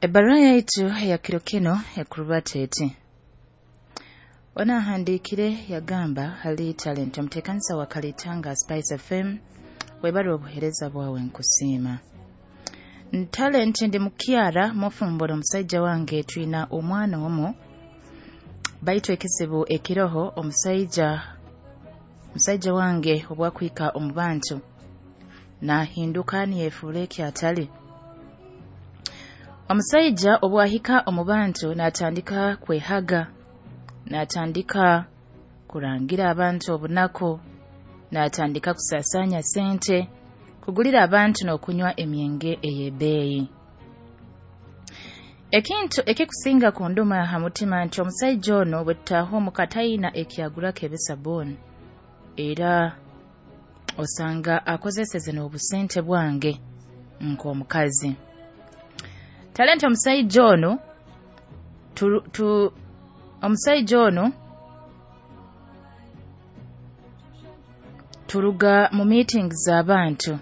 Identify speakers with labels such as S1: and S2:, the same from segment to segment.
S1: Ebbaruha yaitu eya kiro kinu ekurubata eti: Ono ahandiikire yagamba, "Hali Talent, omuteekanisa wa Kalitanga Spice FM, webale obuheereza bwawe, nkusiima. Talent, ndi mukyara mufumbura, omusaija wange twina omwana omu, baitu ekizibu ekiroho, omusaija wange obwakwika omu bantu nahinduka niyefuura eki atali. Omusaija obwahika omu bantu natandika kwehaga, natandika kurangira abantu obunaku, natandika kusaasaanya sente, kugulira abantu n'okunywa emyenge ey'ebbeeyi. Ekintu ekikusinga kunduma ha mutima nti omusaija ono bwe tutaaha omuka tayina ekyagurako ebisabuuni, era osanga akozeseze n'obusente bwange nk'omukazi. Talent, omusaija ono omusaija ono turuga mu meetings z'abantu,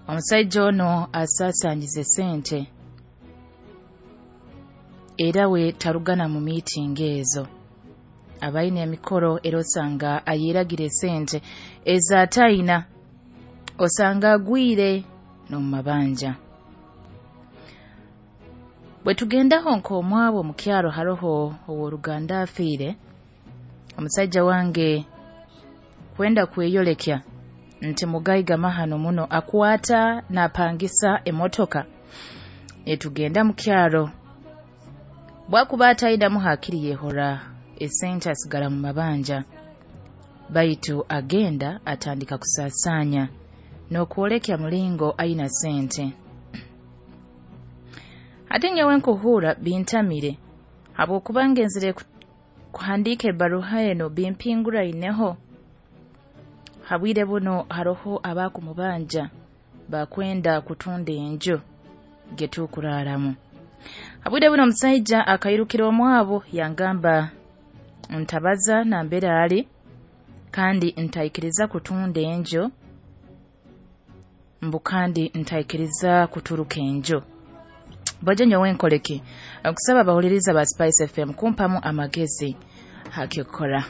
S1: omusaija ono asaasaanyize sente, era we tarugana mu meeting ezo, abaine emikoro era osanga ayeragira esente ez'atayina, osanga agwire n'omu mabanja. Bwe tugendaho nk'omwabo omu kyaro haroho ow'oruganda afiire, omusaija wange kwenda kweyolekya nti mugaiga mahano muno, akwata napangisa emotoka etugenda mu kyaro, bwakuba atayinamu hakiri yehora esente asigara mu mabanja, baitu agenda atandika kusaasaanya n'okwolekya mulingo aina sente. Hati nyowe nkuhuura bintamire, habwokuba ngenzire kuhandiika ebbaruha enu bimpinguraineho. Habwire buno haroho abakumubanja bakwenda kutunda enju getukuraaramu. Habwire buno omusaija akairukira omwabo yangamba ntabaza nambere ali kandi ntaikiriza kutunda enju, mbu kandi ntaikiriza kuturuka enju. Bwajo nyowe nkoleki? Nkusaba abahuliriza ba Spice FM kumpamu amagezi hakyokukora."